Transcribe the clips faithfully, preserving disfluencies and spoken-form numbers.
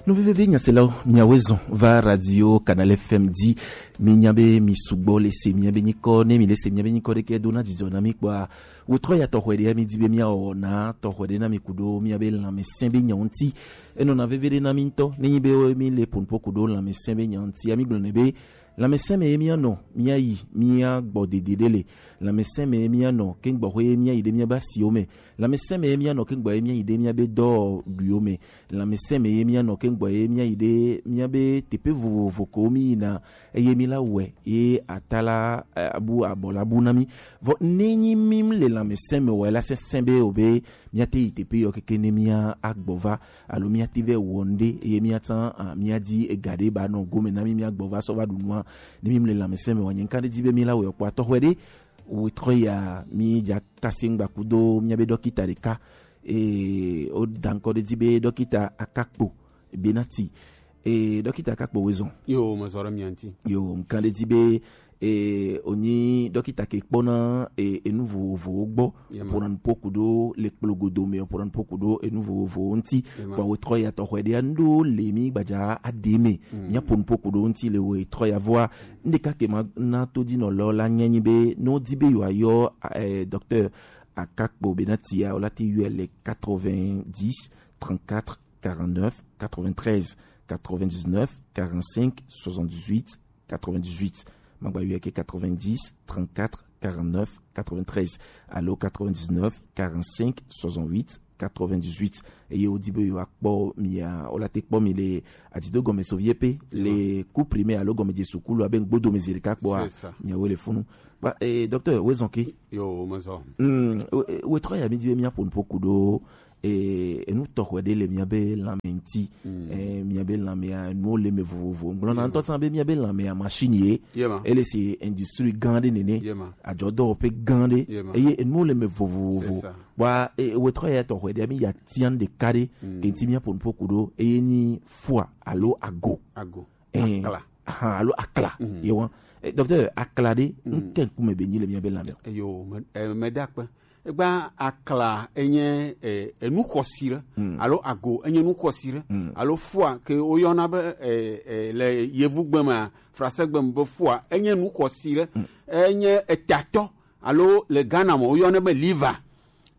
Nuveveve nyaselawo, miawoe zɔn va radio Canal F M dzi. Mi nya be mi sugbɔ le se miabe nyikɔ. Ne mi le se miabe nyikɔ ɖeke do na dzidzɔ na mi kpɔa, wetrɔ ya tɔxɔe ɖe mi di be mia wɔ na tɔxɔe ɖe na mi kudo miabe lãmesẽ be nyawo ŋuti. Enɔna veve ɖe na mi ŋutɔ. Ne nyi be mi le ponpo kudo lãmesẽ be nyawo ŋuti, ya mi gblɔ ne be lãmesẽ me ye mia nɔ, mia yi, mia gbɔ dede ɖe le. Lãmesẽ me ye mia nɔ, ke gbɔ xwe ye mia yi ɖe mia ba siwo me. Lãmesẽ me ye mia nɔ, ke gbɔ ye mia yi ɖe mia be dɔ ɖuiwo me. Lãmesẽ me ye mia nɔ, ke gbɔ ye mia yi ɖe mia be teƒe vovovo ko mi yina, eye mi la wɛ ye ata la, eh, abu abɔ la bu na mi. Vɔ ne nyi mi le lãmesẽ me wɔ la sesẽ be o be mia te yi teƒe yɔ keke ne mia agbɔ va alo mia te vɛ wɔ nde ye mia tsan a mia di ega ɖe ba nɔ gome na mi mia gbɔ va sɔ va ɖu nua. Ne mi le lãmesẽ me wɔ nye nka ɖe di be mi la wɔ kpɔ atɔ xwe ɖe wo trɔ ya mi dza kase ŋgba kudo mia be dɔkita ɖeka. Eye wo da ŋkɔ ɖe dzi be dɔkita Akakpo Benati. Eye dɔkita Akakpo woezɔn. Yo, mezɔ ɖe mia ŋuti. Yo, ŋkan ɖe dzi be eye wonyi dɔkita ke kpɔna eye enu vovovowo gbɔ. Yema. Ƒona nuƒo kudo le kplogodo me, ƒona nuƒo kudo enu vovovowo ŋuti. Yema. Kpɔ wo trɔ ya tɔxɔe ɖe anu ɖewo le mi gbadza aɖe me. Mm. Mia ƒo nuƒo kudo ŋuti le wo trɔ ya vɔa. Ŋɖeka ke ma na to dzi nɔ lɔ la nye nyi be ne wo di be yewoa yɔ eh, docteur Akakpo Benati ya, wo la te yɔe le quatre-vingt-dix, trente-quatre, quarante-neuf, quatre-vingt-treize, quatre-vingt-dix-neuf, quarante-cinq, soixante-dix-huit, quatre-vingt-dix-huit. Magba yɔe ke quatre-vingt-dix, trente-quatre, quarante-neuf, quatre-vingt-treize. Alo quatre-vingt-dix-neuf, quarante-cinq, soixante-huit, quatre-vingt-dix-huit. Eye wo di be yewoa kpɔ mi ya, wo la te kpɔ mi le adido gɔme sovie pe, le ku primaire alo gɔme je sukulu abe ŋgbodo me zi ɖeka kpɔa. C'est ça. Miawo le funu. Ba, eh, docteur, woezɔn ke? Yo, mezɔ. Mm, we, we trɔ ya mi di be mia ƒo nuƒo kudo eh, enu tɔxɔe ɖe le mia be lãme ŋuti. Mm. Eh, mia be lãmea, enuwo le me vovovo. Ŋgblɔ na ŋutɔ tsã be mia be lãmea machine ye. Yema. Ele se industrie gã ɖe nene. Yema. Adzɔdɔwɔƒe gã ɖe. Yema. Eye enuwo le me vovovo. C'est ça. Wa, eh, wetrɔ ya tɔxɔe ɖe, mi ya tian ɖeka ɖe. Mm. Kenti mia ƒo nuƒo kudo. Eye ni fua alo ago. Ago. Eh, akla. Aha, alo akla. Mm. Yewa. Eh, docteur, akla ɖe, mm, ŋke ŋkume be nyi le mia be lãme? Eyo, me, eh, me da akpe. Egba akla enye, eh, enu xɔsi ɖe, mm, alo ago enye nu xɔsi ɖe, mm, alo fua ke woyɔna be, eh, eh, le yevugbe mea, frasegbe me be fua, enye nu xɔsi ɖe, mm, enye etatɔ, alo le Ghana me woyɔnɛ be liver.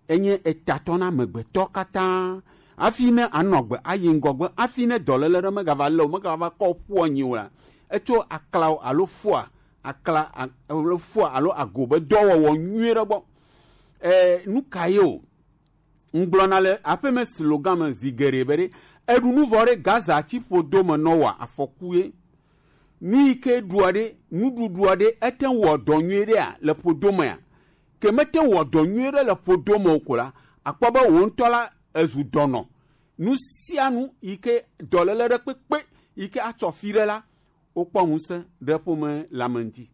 Enye etatɔ na amegbetɔ katã. Hafi ne anɔ agbe ayi ŋgɔgbe, hafi ne dɔléle ɖe megava lé o, megava kɔ ƒu anyi o la, etso aklawo alo fua, akla a-, alo fua alo ago be dɔwɔwɔ nyui ɖe gbɔ. E, nu ka ye o? Ŋgblɔna le aƒeme slogan me zi geɖe be ɖe, eɖu nu vɔ ɖe Gaza tsi ƒodo me nɔ wɔ afɔku ye. Nu yi ke ɖua ɖe, nuɖuɖua ɖe, ete ŋu wɔ dɔ nyui ɖea le ƒodo mea? Ke mete ŋu wɔ dɔ nyui ɖe le ƒodo me o ko la, akpɔ be wò ŋutɔ la ezu dɔnɔ. Nu sia nu yi ke dɔléle ɖe kpekpe yi ke atsɔ fi ɖe la, wokpɔ ŋusẽ ɖe ƒome le ame ŋuti.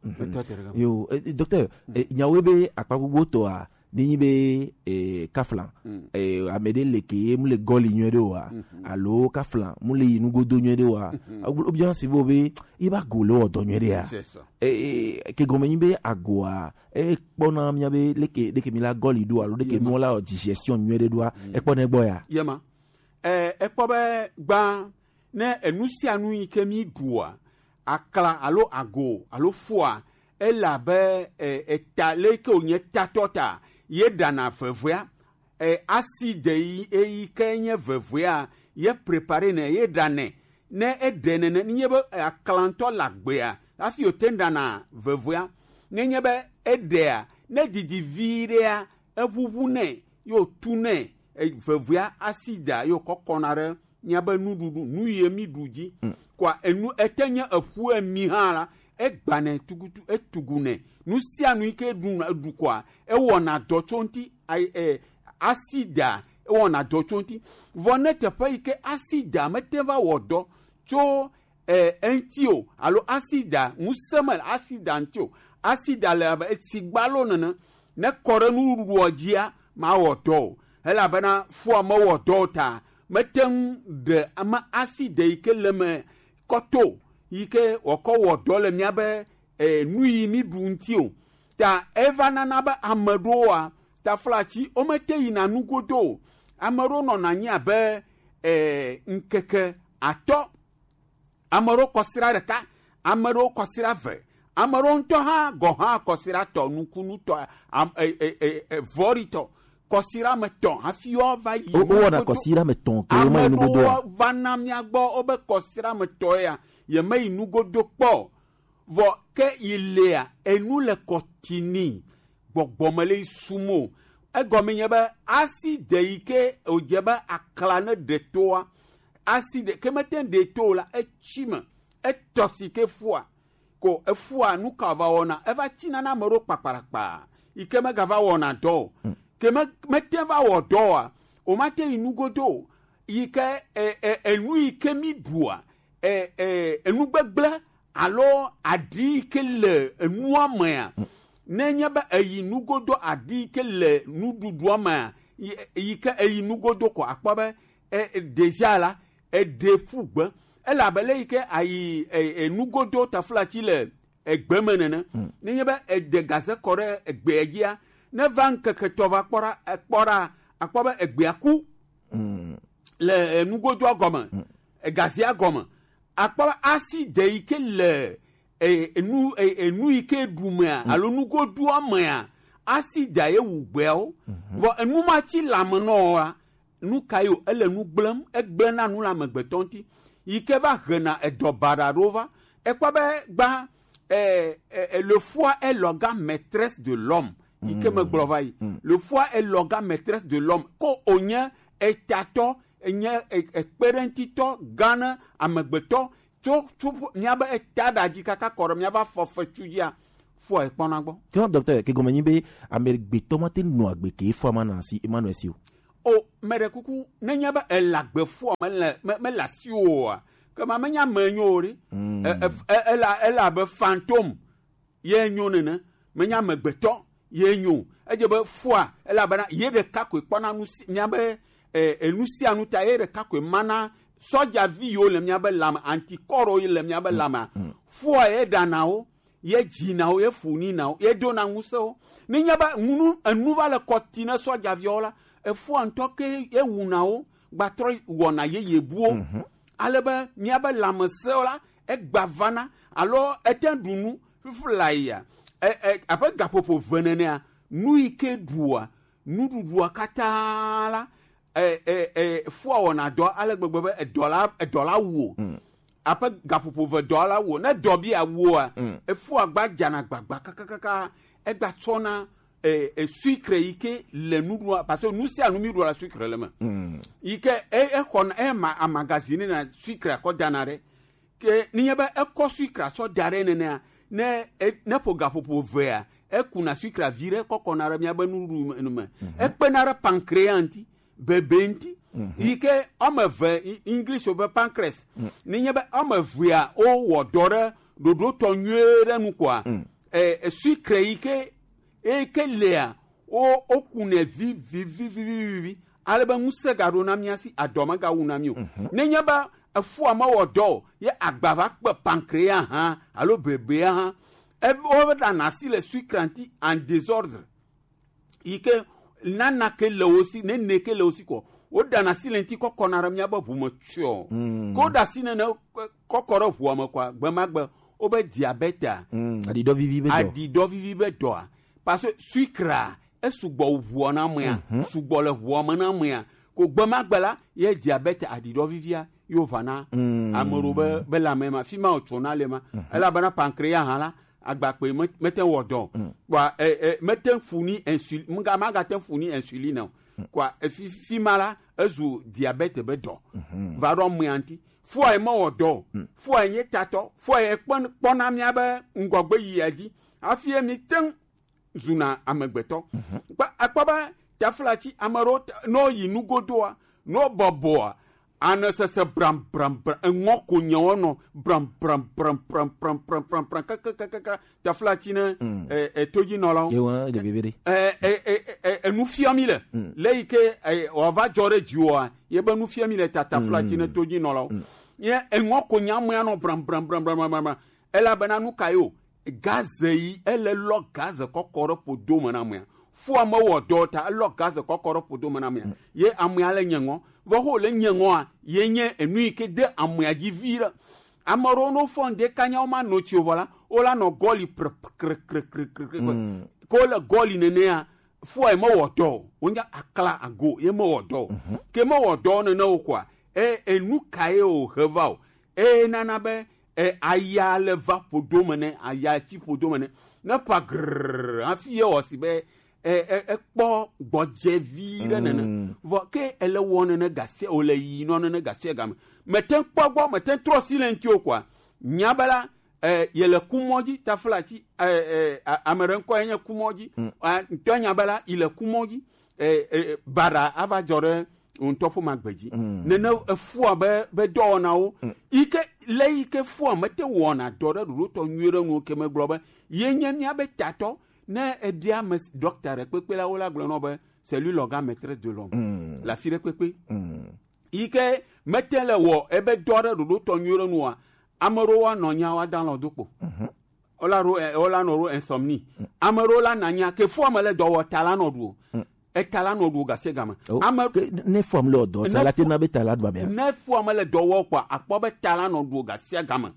Mhm. Etɔ te ɖe gama. Yo, eh, docteur, eh, nyawoe be akpa gbogbo tɔa, ne nyi be, eh, kafla, mm, eh, ame ɖe le ke ye mu le gɔli nyuie ɖe oa, mhm, alo kafla mu le yi nugodo nyuie ɖe oa, mhm, obiana si bo be, yi ba go le wɔ dɔ nyuie ɖe a? C'est ça. Eh, eh, ke gɔme nyi be agoa, eh, kpɔna mia be leke, leke mi la gɔli ɖo alo leke, yema, nuwo la wɔ digestion nyuie ɖe ɖoa, mm, ekpɔna egbɔ ya? Yema. Eh, ekpɔ be gbã, ne enu sia nu yi ke mi ɖua, akla alo ago alo fua, ele abe, e, eta leke wònye tatɔ ta, ye ɖana vevea, e, acide yi, eyi ke nye vevea, ye prepare nɛ, ye ɖanɛ. Ne eɖe nene, nenye be, e, akla ŋutɔ le agbea, hafi wòte ŋu ɖana vevea. Nenye be eɖea, ne didi vi ɖea, eʋuʋu nɛ, ye wòtu nɛ, e, vevea acide ye wòkɔ kɔna ɖe míabe nuɖuɖu, nu yi mi ɖu dzi. Mm. Kɔa enu ete nye eƒu emi hã la, egbanɛ tugutu, etugunɛ. Nu sia nu yi ke ɖu, ɖu kɔa, ewɔna dɔ tso ŋuti, ai, e, asida, ewɔna dɔ tso ŋuti. Vɔ ne teƒe yi ke asida mete va wɔ dɔ tso, e, eŋuti o, alo asida, ŋusẽ mele asida ŋuti o, asida le abe etsi gbalo nene, ne kɔ ɖe nuɖuɖua dzia, mawɔ dɔ o, elabena fua mewɔ dɔ o ta, mete ŋu ɖe ame aside yi ke le me kɔ to, yi ke wòakɔ wɔ dɔ le míabe, e, nu yi mi ɖu ŋuti o. Ta eva nana be ame ɖewoa, taflatsi, womete yina nugodo o. Ame ɖewo nɔna anyi abe, eh, ŋkeke atɔ, ame ɖewo kɔsiɖa ɖeka, ame ɖewo kɔsiɖa eve, ame ɖewo ŋutɔ hã gɔ̃ hã kɔsiɖa tɔ nukunutɔ, am- e- e- e- e- vɔ̃ɖitɔ, kɔsiɖa me tɔ hafi woava yi Wo- wowɔna nugodo. Kɔsiɖa me tɔ ke Ame womeyi nugodoa. Ɖewo va na mía gbɔ wobe kɔsiɖa me tɔ ya yemeyi nugodo kpɔ o. Vɔ ke yi lea, enu le kɔtini gbɔgbɔ me le yi sum o. Egɔme nye be asi de yi ke wòdze be akla ne ɖe toa, asi de ke mete ŋu ɖe to o la, etsi me, etɔ si ke fua. Ko efua, nu ka va wɔna? Eva tsina na ame ɖewo kpakpaɖakpa yi ke megava wɔna dɔ o. Ke me- mete va wɔ dɔ oa, womate yi nugodo o. Yi ke e- e- enu yi ke mi ɖua, e- e- enu gbegblẽ alo aɖi yi ke le enua mea, nenye be eyi nugodo aɖi yi ke le nuɖuɖua mea, yi yi ke eyi nugodo ko akpɔ be e- e- déjà la, eɖe ƒu gbe. Elabe le yi ke ayi e- e- nugodo taflatsi le egbe me nene. Nenye be ede gaze kɔ ɖe egbea dzia, ne va ŋkeke tɔ va kpɔ ɖa, ekpɔ ɖa, akpɔ be egbea ku le enugodoa gɔme, egazea gɔme, akpɔ be asi de yi ke le e- enu e- enu yi ke ɖu mea alo nugodoa mea, asi da ye wu gbeawo. Vɔ enu ma tsi lame nɔ wa, nu ka yo ele nu gblẽm, egblẽna nu le amegbetɔ ŋuti, yi ke va hena edɔ baɖa ɖewo va. Ekpɔ be gba eh, eh, eh, le foi est l'organe maîtresse de l'homme. Yi ke megblɔ va yi. Le foi est l'organe maîtresse de l'homme. Ko wònye etatɔ, enye e- ekpeɖeŋutitɔ gã ne amegbetɔ tso tso míabe eta ɖa dzi kaka kɔ ɖe míabe afɔfetu dzia, foi ekpɔna gbɔ. Ke docteur, ke gɔme nyi be amegbetɔ mate nɔ agbe ke foi ma na si, ma nɔ esi o. O, meɖe kuku, nenye be ele agbe foi mele me- mele asiwò oa, ke ma menye ame nyo o ɖe. E- e- e- ele ele abe fantôme ye nyo nene, menye amegbetɔ ye nyo o. Edze be foi, elabena ye ɖeka koe kpɔna nu si- míabe e- enu sia nu ta, ye ɖeka koe mana sɔdzavi yiwo le míabe lame, antikɔrwo yi le míabe lamea, foi ye ɖana wo, ye dzina wo, ye funina wo, ye dona ŋusẽ wo. Nenye be ŋunu enu va le kɔti ne sɔdzaviawo la, efua ŋutɔ ke ye wuna wo, gbatrɔ wɔna yeye buwo. Ale be míabe lãmesẽwo la, egba vana alo ete ɖu nu fifi la yia, e- e- abe gaƒoƒo ve nenea, nu yi ke ɖua nuɖuɖua katã la, e- e- e- fua wɔna dɔ ale gbegbe be edɔ la edɔ la wu o. Aƒe gaƒoƒo ve dɔ la wu o. Ne dɔ bi awu oa, efua gba dzana gbagba kakakaka, egba tsɔna e- e- sucre yi ke le nuɖua, parce que nu sia nu mi ɖua la sucre le me. Yi ke e- exɔna ema amagazine na sucre akɔ dana ɖe. Ke nenye be ekɔ sucre sɔ da ɖe nenea, ne e- ne ƒo gaƒoƒo vea, ekuna sucre vi ɖe kɔkɔna ɖe míabe nuɖuɖu me. Ekpena ɖe pancréas ŋuti, bebe ŋuti. Yi ke wɔme eve, English be pancreas. Nenye be wɔme evea wowɔ dɔ ɖe ɖoɖo tɔ nyuie ɖe nu koa, e- e- sucre yi ke eye ke lea, wo wokunɛ vivivivivivi, ale be ŋusẽ gaɖo na mía si, adɔ megawu na mí o. Nenye be efua mewɔ dɔ o, ye agba va kpe pancréas hã alo bebea hã, e- woɖana asi le sucre ŋuti en désordre, yi ke nana ke le wo si, nene ke le wo si kɔ, woɖana asi le ŋuti kɔkɔna ɖe míabe ʋu me tsyɔ. Ke woɖe asi nene kɔkɔ ɖe ʋua me kɔa, gbe ma gbe wobe diabète a, aɖiɖɔ vivi be dɔ. Aɖiɖɔ vivi be dɔa, parce que sucre a, esugbɔ wu ʋua na amea, sugbɔ le ʋua me na amea, ko gbe ma gbe la, ye diabète, aɖiɖɔ vivia yo va na ame ɖewo be be lãme ma, fi ma wòtsɔna le ma. Elabena pancréas hã la, agbakpe me- mete ŋu wɔ dɔ o. Kpɔa e- e- mete ŋu fu ni insul- mga- magate ŋu fu ni insuline o. Kpɔa efi- fi ma la, ezu diabète be dɔ va ɖo amea ŋuti. Fua ye mewɔ dɔ o. Fua ye nye tatɔ, fua ye kpɔn- kpɔna míabe ŋgɔgbe yia dzi hafi ye mi te ŋu zuna amegbetɔ. Kpɔ- akpɔ be taflatsi, ame ɖewo te- ne woyi nugodoa, ne wobɔbɔa, ane sese bram bram bram, eŋɔ ko nye wonɔ bram bram bram bram bram bram bram bram kakakakaka, taflatsi ne e- e- todzinɔlawo. Ye wa de bebe de. E- e- e- e- e- enu fiɔ mi le le yi ke e- wòava dzɔ ɖe dziwòa, ye be nu fiɔ mi le tata flatsi ne todzinɔlawo. Ye eŋɔ ko nya mea nɔ bram bram bram bram bram bram. Elabena nu ka ye o? Gaze yi ele lɔ gaze kɔkɔ ɖe ƒodo me na amea. Fua mewɔ dɔ o ta, elɔ gaz kɔkɔ ɖe ƒodo me na amea. Ye amea le nye ŋɔ. Vɔ ho le nye ŋɔa, ye nye enu yi ke de amea dzi vi ɖe. Ame ɖewo no fɔ ŋde kanya wo ma no tsi o vɔ la, wo la nɔ gɔli pre kre kre kre kre kre. Ko le gɔli nenea, fua ye mewɔ dɔ o. Wo nya akla ago ye mewɔ dɔ o. Ke mewɔ dɔ o nene o kɔa, e enu ka ye o he va o. Eye nana be e, aya le va ƒodo me ne, aya tsi ƒodo me ne, ne ƒa grrr hafi ye wɔ si be e, e, ekpɔ gbɔdze vi ɖe nene. Vɔ ke ele wɔ nene gasia, wòle yi nɔ nene gasia game. Mete ŋu kpɔ gbɔ, mete ŋu trɔ si le ŋuti o kɔa, nya be la, e, yele kumɔ dzi, taflatsi, e, e, a-, ame ɖe ŋkɔ ye nye kumɔ dzi. A, ŋutɔ nya be la, yi le kumɔ dzi. E, e, baɖa ava dzɔ ɖe wò ŋutɔ ƒe magbe dzi. Nene efua be, be dɔwɔnawo yi ke le yi ke fua mete wɔna dɔ ɖe ɖoɖo tɔ nyuie ɖe nuwo ke megblɔ be ye nye mía be tatɔ. Ne ebia ame s-, dɔkta ɖe kpekpe la, wo la gblɔ nɔ be c'est lui l'organe maîtresse de l'homme. Le afi ɖe kpekpe yi ke mete le wɔ ebe dɔ ɖe ɖoɖo tɔ nyuie ɖe nua, ame ɖewo wa nɔ nya wa da lɔ do kpo. Wola ɖo, eh, wola nɔ ɖo insomnie. Ame ɖewo la nanya ke fua me le dɔ wɔ ta la nɔ ɖu o. Eta la nɔ ɖu o gase game. Ame ke ne fua me le dɔ ta la te na be ta la ɖu abia. Ne fua me le dɔ wɔ kpa akpɔ be ta la nɔ ɖu o gase game.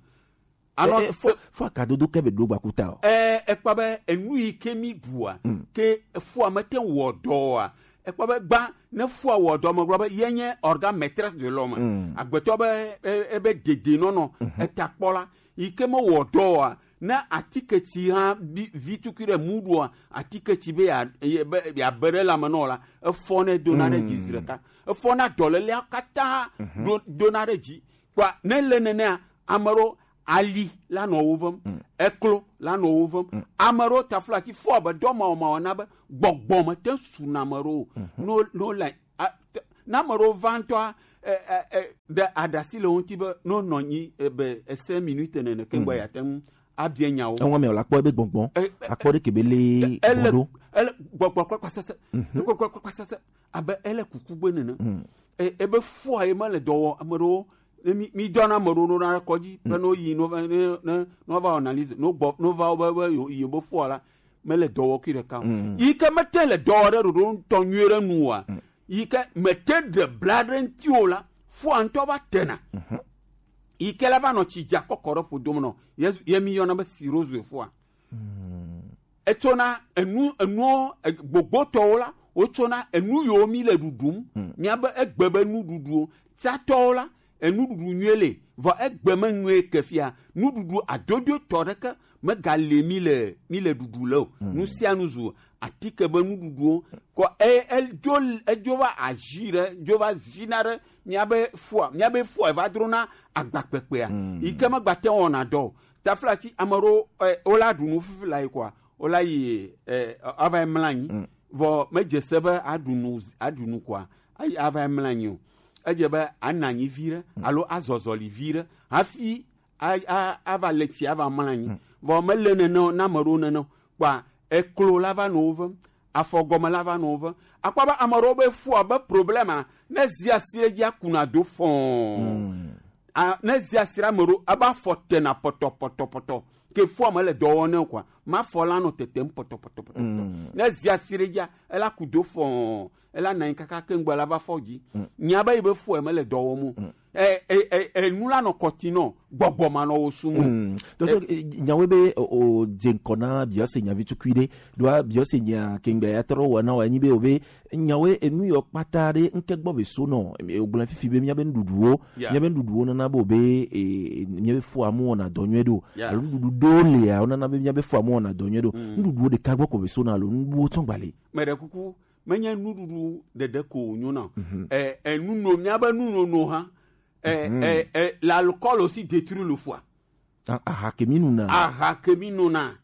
Anɔ e, e, fo fo akadodo ke be do gbakuta o. Eh, ekpa be enu yi ke mi ɖua ke fua me te wɔ dɔ wa. Ekpɔ be gba ne fua wɔ dɔ me gblɔ be ye nye organe maîtresse de l'homme. Agbetɔ be e, ebe dede nɔnɔ eta kpɔ la yi ke me wɔ dɔ wa, ne atiketsi hã bi vi tukui ɖe mu ɖua, atiketsi be ya, ye be ya be ɖe lame nɔ la, efɔ ne dona ɖe dzi zi ɖeka. Efɔ na dɔlelea katã do, dona ɖe dzi. Kpɔa ne le nenea, ame ɖewo ali la nɔ wo vem, eklo la nɔ wo vem. Ame ɖewo taflatsi fɔ be dɔ mawɔmawɔ na be gbɔgbɔ me te su na ame ɖewo. No, no le a, te, ne ame ɖewo va ŋutɔa, e, e, e, ɖe aɖasi le wo ŋuti be no nɔ anyi, e, be ese minute nene ke ŋgbɔ ya te ŋu abia nyawo. Eŋua me wòle akpɔ ebe gbɔgbɔ. E, e, akpɔ ɖe ke be le ele, ele gbɔgbɔ kple kpasese. Gbɔgbɔ kple kpasese. Abe ele kuku gbe nene. E, ebe fua ye mele dɔ wɔ, ame ɖewo, ne mi, mi dɔna ame ɖewo ɖona ɖe kɔdzi, be no yi, no va, ne, ne, no va analyse, no gbɔ, no va wo be, be yo, yi be fua la, mele dɔ wɔ kui ɖeka o. Yi ke mete le dɔ wɔ ɖe ɖoɖo ŋutɔ nyuie ɖe nu oa, yi ke mete ɖe bla ɖe ŋuti o la, fua ŋutɔ va tena. Yi ke la va nɔ tsi dza kɔkɔ ɖe ƒodo me nɔ. Yesu, ye mi yɔna be cirrhose fua. Etsɔna enu, enuwo, e, gbogbotɔwo la, wotsɔna enu yiwo mi le ɖuɖum, miabe egbe be nuɖuɖuwo. Tsatɔwo la, enuɖuɖu nyuie le, vɔ egbe me nyuie ke fia, nuɖuɖu adodoetɔ ɖeke megale mi le, mi le ɖuɖu le o. Nu sia nu zu atike be nuɖuɖuwo. Kɔ e, edzo, edzo va azi ɖe, dzo va zina ɖe miabe fua, miabe fua va drona agbakpekpea. Yi ke megbate wɔna dɔ o. Taflatsi ame ɖewo, e, wola ɖu nu fifi la yi kɔa, wola yi, e, ava yi mla anyi. Vɔ medze se be aɖu nu, aɖu nu kɔa, ayi ava yi mla anyi o. Edze be ana anyi vi ɖe alo azɔzɔli vi ɖe hafi a, a, ava le tsi ava mla anyi. Vɔ mele nene o, na ame ɖewo nene o. Kpɔa, eklo la va nɔ wo vem, afɔ gɔme la va nɔ wo vem. Akpɔ be ame ɖewo be fua be problema, ne zi asi ɖe dzi akuna do fɔɔ. A, ne zi asi ɖe ame ɖewo, ebe afɔ tena pɔtɔ, pɔtɔ, pɔtɔ. Ke fua me le dɔ wɔ ne o kɔa, ma fɔ la nɔ tetem pɔtɔ, pɔtɔ, pɔtɔ, pɔtɔ. Ne zi asi ɖe dzia, ela ku do fɔɔ, ela nɔ anyi kaka ke ŋgbe la va fɔ dzi. Nya be yi be fua me le dɔ wɔm o. E, e, e, enu la nɔ kɔti nɔ, gbɔgbɔ ma nɔ wo sumu. Tɔtɔ, e, nyawo be o, o dze ŋkɔ na biɔse nyavi tukui ɖe, ɖoa biɔse nya kengbe ya trɔ wɔ na wa nyi be o be nyawo enu yɔ kpata ɖe ŋke gbɔ be so nɔ, e, o gblẽ fifi be mía be nuɖuɖuwo, mía be nuɖuɖuwo nana be o be, e, mía be fua mu wɔna dɔ nyuie ɖo. Alo nuɖuɖu ɖewo lia, wo nana be mía be fua mu wɔna dɔ nyuie ɖo. Nuɖuɖuwo ɖeka gbɔ ko be so na alo nuɖuɖuwo tsɔ gbali. Meɖe kuku, menye nuɖuɖu ɖeɖe ko wònyo na o. E, e, nuno, míabe nunono hã, e, e, e, l'alcool aussi détruit le foie. A, aha ke mi nuna. Aha ke mi nuna,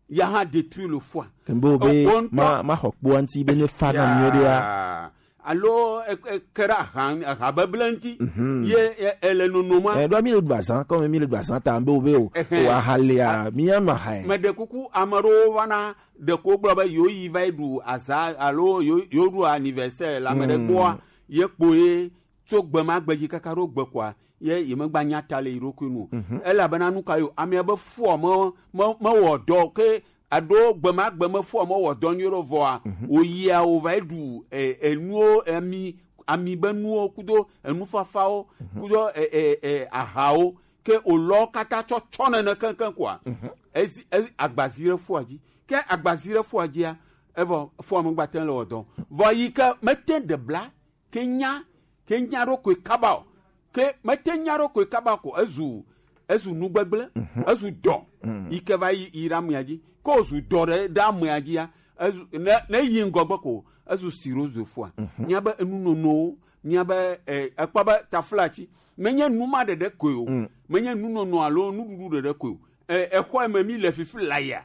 ya hã détruit le foie. Kembe wo be ma, ma xɔ kpoa ŋuti be ne fa na mi ɖea. Alo e, e, ke ɖe aha, aha beble ŋuti. Ye, e, ele nonoma. E, ɖo mi le ɖu azã, comme mi le ɖu azã ta, mbe wo be o. O aha lea, mi ya nɔ aha. Meɖe kuku, ame ɖewo va na ɖeko gblɔ be yewo yi va yi ɖu azã alo yewo, yewo ɖu anniversaire le ame ɖe gbɔa, ye kpo ye tso gbe ma gbe dzi kaka ɖo gbe kɔa, ye, ye megba nya ta le yi ɖokui nu o. Elabena nu ka yo, amea be fua me, me, mewɔ dɔ o ke aɖo gbema gbeme fɔ me wɔ dɔ nyuie ɖo vɔa, o yia o va yi ɖu e, enuwo, ami ami be nuwo kudo enufafawo kudo e, e, e, ahawo ke o lɔ kata tsɔ tsɔ nene keŋkeŋ koa, ezi e, agbazi ɖe fua dzi, ke agbazi ɖe fua dzia, evɔ fua me gbate le wɔ dɔ vɔ yi ke mete ɖe bla ke nya ke nya ɖo koe kaba o, ke mete nya ɖo koe kaba ko ezu ezu nugbegble, ezu dɔ yi ke va yi yi ɖe amea dzi, ke ozu dɔ ɖe ɖe amea dzia, ezu ne ne yi ŋgɔgbe ko ezu sirozo fua. Míabe enunonowo, míabe e, ekpɔ be taflatsi menye nu ma ɖeɖe koe o, menye nunono alo nuɖuɖu ɖeɖe koe o. E, exɔe me mi le fifi la ya.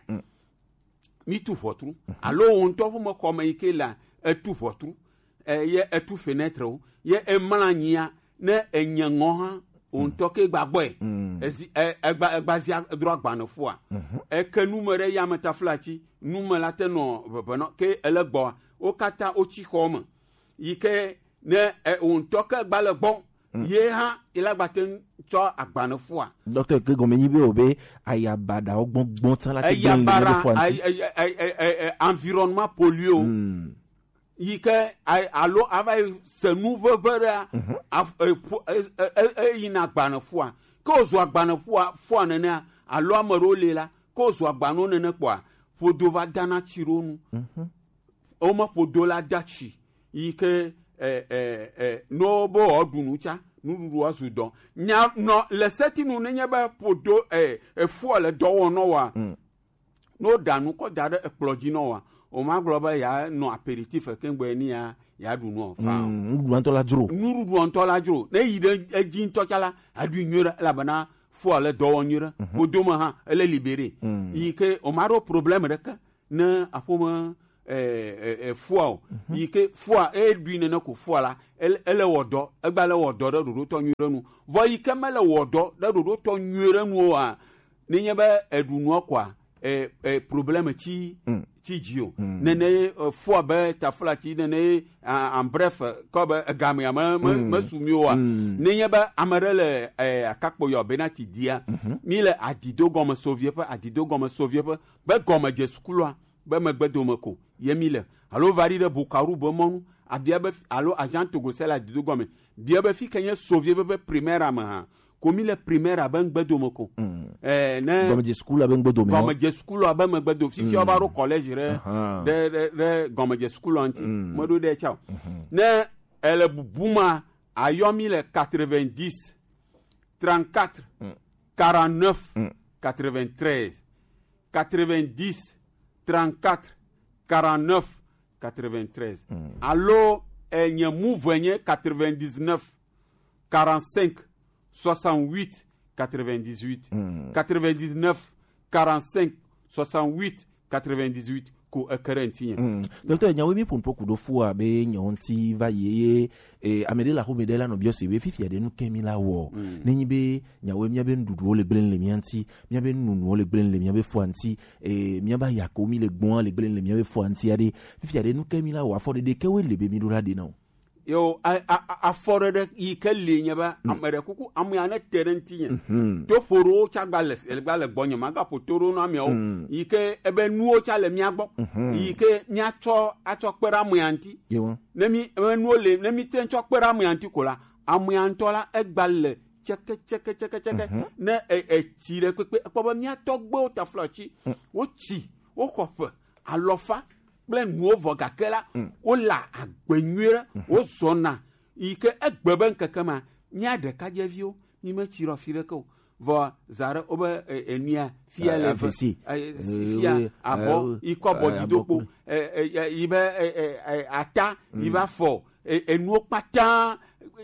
Mi tu ʋɔtru alo wò ŋutɔ ƒe mexɔ me yi ke la, etu ʋɔtru, eye etu fenêtre wo, ye emla anyia ne enye ŋɔ hã wò ŋutɔ ke gba gbɔe. Ezi e- egba egba zia drɔ agbanefua. Eke nu me ɖe yame taflatsi nu me la te nɔ ʋeʋenɔ ke ele gbɔa, wo katã wotsi xɔ me yi ke ne e- wò ŋutɔ ke gba le gbɔ, ye hã yi la gba te ŋu tsɔ agbanefua. Dɔkita ke gɔme nyi be o be aya baɖawo gbɔgbɔ tsã la te gblẽ le mía be fua ŋuti. Environnement pollué o. Yi ke alo ava yi se nu ʋeʋe ɖea, eyina agbanefua, ke wòzu agbanefua fua nenea, alo ame ɖewo li la, ke wòzu agbanewo nene kpɔa, ƒodo va dana tsi ɖo nu. Wome ƒodo la da tsi yi ke eh, eh, eh, no bo wɔ ɖu nu tsa nuɖuɖu wɔ zu dɔ nya nɔ le setinu ne nye be ƒodo eh, efua le dɔ wɔ nɔ wa. No ɖa nu kɔ da ɖe ekplɔ dzi nɔ wa, o ma gblɔ be ya nɔ aperitif keŋ gbɔ ni ya ya ɖu nu fa. Nuɖuɖua ŋutɔ la dzro. Nuɖuɖua ŋutɔ la dzro ne yi ɖe edzi ŋutɔ tsa la aɖui nyuie ɖe elabena fua le dɔ wɔ nyuie ɖe ƒodo me hã ele libéré yi ke o ma ɖo problème ɖeke ne aƒome eh, eh, eh, fua o yi ke fua e ɖui nene ko fua la ele ele wɔ dɔ egba le wɔ dɔ ɖe ɖoɖo tɔ nyui ɖe nu vɔ yi ke mele wɔ dɔ ɖe ɖoɖo tɔ nyui ɖe nu oa ne nye be eɖu nua koa eh, eh, problème tsi tsi dzi o nene eh, fua be taflatsi nene ah, en bref kɔ be egamea me me me su mi oa ne nye be ame ɖe le eh, akakpo yɔ bena ti dia mi le adido gɔme sovie ƒe adido gɔme sovie ƒe be gɔme dze sukulua be megbe dome ko ye mi le alo va ɖi ɖe Bukaru be mɔnu abia be alo agent Togo sela dido gɔme bia be fi ke nye sovie be be primaire me hã ko mi le primaire abe ŋgbe dome ko eh ne gɔmedze sukulu abe ŋgbe dome gɔmedze sukulu abe megbe do fifi va ɖo collège ɖe ɖe ɖe ɖe gɔmedze sukulu anti me ɖo ɖe tsao ne ele bubu ma ayɔ mi le quatre-vingt-dix trente-quatre quarante-neuf quatre-vingt-treize quatre-vingt-dix trente-quatre quarante-neuf quatre-vingt-treize alo enye move nye quatre-vingt-dix-neuf quarante-cinq soixante-huit quatre-vingt-dix-huit quatre-vingt-dix-neuf quarante-cinq soixante-huit quatre-vingt-dix-huit ko eke ɖe ŋutinye. Docteur, nyawo mi ƒo nuƒo ku ɖo fua be nyawo ŋuti va yi eye eh, ame ɖe le axome ɖe la nɔ biɔ se be fifia ɖe nu ke mi la wɔ. Ne nyi be nyawo mía be nuɖuɖuwo le gblẽ le mía ŋuti, mía be nunonowo le gblẽ le mía be fua ŋuti, eh, mía be ayakowo mi le gbɔa le gblẽ le mía be fua ŋuti aɖe. Fifia ɖe nu ke mi la wɔ afɔɖeɖe ke wo le be mi ɖo la ɖe na o. Yo, a- a- a- afɔɖeɖe yi ke li nye be ame ɖe kuku ame ya ne te ɖe ŋuti nye to ƒo ɖo wo tsa gba le gba le gbɔ nye ma ga ƒo to ɖo na ameawo yi ke ebe nuwo tsa le mía gbɔ yi ke mía tsɔ atsɔ kpe ɖe ame ya ŋuti Yewo. Ne mi ame nuwo le ne mi te ŋu tsɔ kpe ɖe ame ya ŋuti ko la ame ya ŋutɔ la egba le tseke tseke tseke tseke ne e- etsi ɖe kpekpe ekpɔ be mía tɔgbewo taflatsi wotsi woxɔ ƒe alɔfa kple nuwo vɔ gake la wole agbe nyuie ɖe wozɔna yi ke egbe be ŋkeke ma mía ɖekadzeviwo mi metsi ɖe afi ɖeke o vɔ za ɖe wobe e- enua fia le ve Avesi. E- Eh, fia oui, abɔ eh, yi kɔ bɔ eh, dzi do abɔ kpo kple- e- e- e- yi be e- e- e- ata yi be afɔ e- enuwo kpata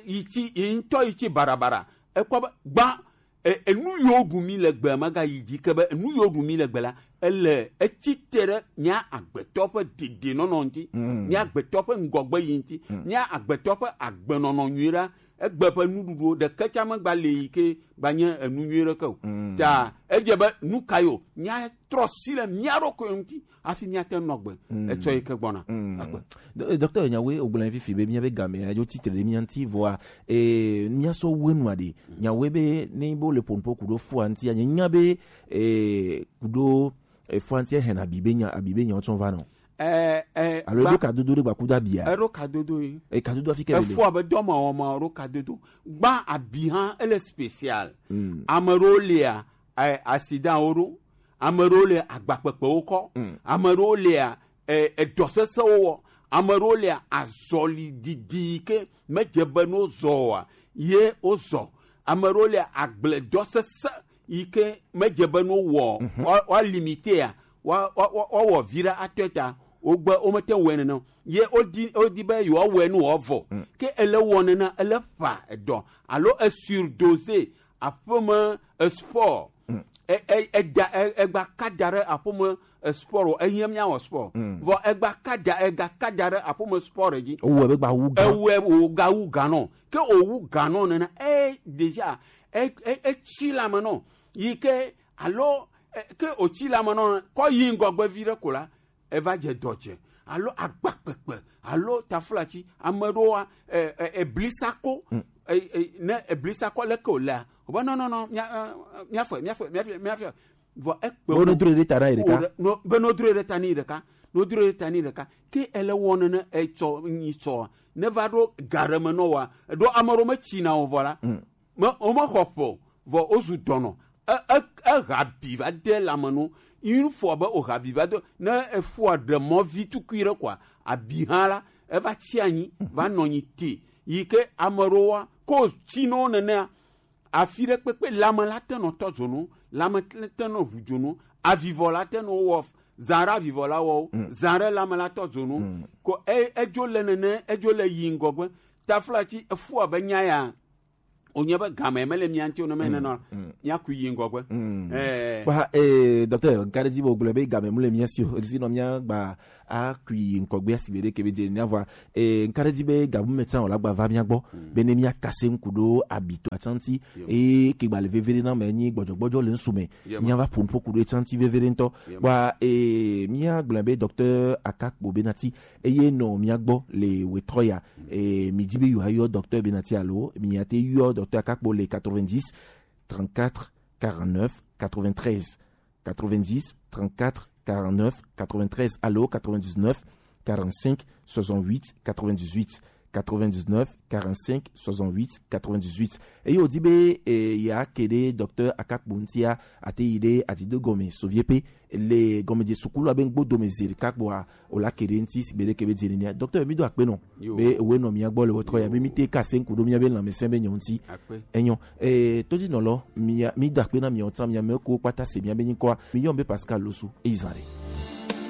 yi tsi yi ŋutɔ yi tsi barabara ekpɔ be gbã e- enu yiwo ɖu mi le gbe magayi dzi ke be enu yiwo ɖu mi le gbe la ele etsi te ɖe mía agbetɔ ƒe dedienɔnɔ ŋuti mía agbetɔ ƒe ŋgɔgbe yi ŋuti mía agbetɔ ƒe agbenɔnɔ nyui ɖa egbe ƒe nuɖuɖuwo ɖeke tsa megba le yi ke gba nye enu nyui ɖeke o ta edze be nu ka yo mía trɔ si le mía ɖokui ŋuti hafi míate ŋu nɔ gbe etsɔ yi ke gbɔna. Akpe. Do- docteur nyawoe wogblẽ fifi be míabe game adzo tsitre ɖe mía ŋuti vɔa eh, míasɔ wenu aɖe nyawoe be ne be wole ƒonuƒo ku ɖo fua ŋuti anye nya be eh, ku ɖo Efua ŋuti ehɛn abi be nya, abi be nya wotsɔ va nɔ. Ɛ ɛ Alo eɖo kadodo ɖe gbakudo abia. Eɖo kadodo yi. E kadodo afi ke bele. Efua be dɔma wɔma ɖo kadodo. Gba abi hã ele spécial. Mm. Ame ɖewo lia, ɛ, accident wo ɖo. Ame ɖewo le agbakpekpewo kɔ. Mm. Ame ɖewo lia, ɛ, edɔ sesẽwo wɔ. Ame ɖewo lia azɔli didi yi ke medze be no zɔ oa, ye wozɔ. Ame ɖewo lia agbledɔ sesẽ yi ke medze be no wɔ, mhm, wa, wa limité a, wa, wa, wa, wa wɔ vi ɖe atɔe ta, wogbe womete ŋu wɔe nene o. Ye wodi, wodi be yewoawɔe nu wòavɔ. Mm. Ke ele wɔ nena, ele ƒa edɔ alo esurdosé aƒeme esport. Mm. E, e, eda, e, egba ka da ɖe aƒeme esport o, ehiã míawɔ sport. Mm. Vɔ egba ka da, ega ka da ɖe aƒeme sport dzi. Ewɔe be gba wu gan. Ewɔe wògawu gan nɔ. Ke wòwu gan nɔ nena, e, déjà, e, e, etsi lame nɔ. Yi ke, alo, e, ke wòtsi lame nɔ, kɔ yi ŋgɔgbe vi ɖe ko la, eva dze dɔ dze, alo agbakpekpe, alo taflatsi, ame ɖewoa, e, e, eblisako, mm, e, e, ne eblisako leke wòlea, wobe, non, non, non, mia, e, miafɔe, miafɔe, miafɔe, miafɔe. Vɔ ekpe be wonedroe ɖe ta na yi ɖeka. Wo ɖe, no, be nodroe ɖe ta ni ɖeka, nodroe ɖe ta ni ɖeka. Ke ele wɔ nene etsɔ nyi tsɔa, ne va ɖo ga ɖe me nɔ wa, ɖo ame ɖewo metsina o vɔ la. Mm. Me, womexɔ ƒe o, vɔ wozu dɔnɔ. E, e, eha bi va de lame no. Une fois be wòha bi va de, ne efua ɖe mɔ vi tukui ɖe koa, abi hã la, eva tsi anyi, va nɔ anyi te. Yi ke ame ɖewoa, ko tsi nɔ nenea, afi ɖe kpekpe, lame la te nɔ tɔ dzonu, lame te nɔ ʋu dzonu, avivɔ la te nɔ wɔ, zã ɖe avivɔ la wɔ, mm, zã ɖe lame la tɔ dzonu. Mm. Ko e, edzo le nene, edzo le yi ŋgɔgbe. Taflatsi, efua be nya ya, wònye be game mele mía ŋuti o, ne mele nenɔ, mm, míaku yi ŋgɔgbe. Mm. Eh. Kpa, eh, docteur, nka ɖe dzi be wògblɔe be game mele mía si o, esi nɔ míagba aku yi ŋgɔgbe asi be ɖeke be dze nea vɔa, eh, nka ɖe dzi be gabu me tsã wòla gba va mía gbɔ, mm, be ne míakase ŋku ɖo abito atsanti, yo, eye ke gba le veve ɖe na me nyi gbɔdzɔgbɔdzɔ le ŋsu me, yo, míava ƒo nuƒo ku ɖo etsanti veve ɖe ŋutɔ. Yo. Kpa, eh, míagblɔe be docteur Akakpo Benati, eye nɔ mía gbɔ le wetrɔ ya. E, mi di be yewoayɔ docteur Benati alo, mi ate yɔ docteur Akakpo le quatre-vingt-dix, trente-quatre, quarante-neuf, quatre-vingt-treize. Quatre-vingt-dix, trente-quatre, quarante-neuf, quatre-vingt-treize alo quatre-vingt-dix-neuf, quarante-cinq, soixante-huit, quatre-vingt-dix-huit. Quatre-vingt-dix-neuf, quarante-cinq, soixante-huit, quatre-vingt-dix-huit. Eye wòdi be, e, yeake ɖe docteur Akakpo ŋutia, ate yi ɖe Adido gɔme, Soviepe, le gɔmedze sukulu abe ŋgbo dome zi ɖeka kpoa, wòla ke ɖe ŋuti sigbe ɖeke be dze nenia. Docteur, mi do akpe nɔ. Yo. Be ewe nɔ mia gbɔ le wetrɔ ya, be mi te kase ŋku ɖo mia be lãmesẽ be nyɔ ŋuti. Akpe. Enyo. E, todinɔlɔ, mia, mi do akpe na miawo tsã, mia me ko kpata se mia be nyikɔa. Mi yɔm be Pascal Losu, eyi zã ɖe.